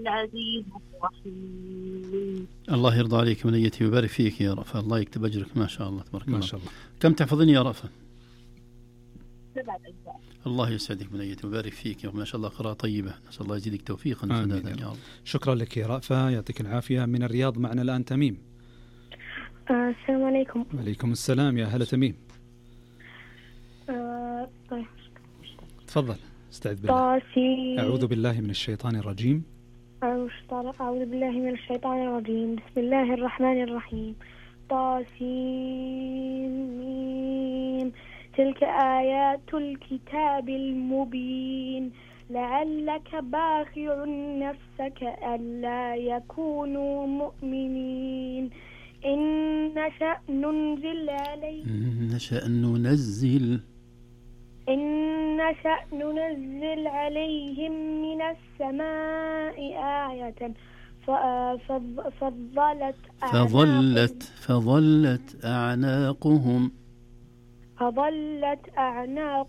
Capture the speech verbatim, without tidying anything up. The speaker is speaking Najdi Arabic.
العزيز الرحيم. الله يرضى عليك منيتي ويبارك فيك يا رأفة، الله يكتب أجرك ما شاء الله تبارك الله. ما شاء الله. كم تحفظين يا رأفة؟ سبعة أجزاء. الله يسعدك منيتي ويبارك فيك يا ما شاء الله، قراءة طيبة، نسأل الله يزيدك توفيقا وسدادا يا رب. شكرا لك يا رأفة، يعطيك العافية. من الرياض معنا الآن تميم. آه السلام عليكم. وعليكم السلام، يا هلا تميم. آه طيب تفضل. استعذ بالله. طاسي. أعوذ بالله من الشيطان الرجيم. أعوذ بالله من الشيطان الرجيم. بسم الله الرحمن الرحيم. طاسيم. تلك آيات الكتاب المبين لعلك باخع نفسك ألا يكونوا مؤمنين إن نشأ ننزل عليهم إن نشأ ننزل إن نشأ ننزل عليهم من السماء آية فظلت فظلت فظلت أعناقهم فظلت أعناق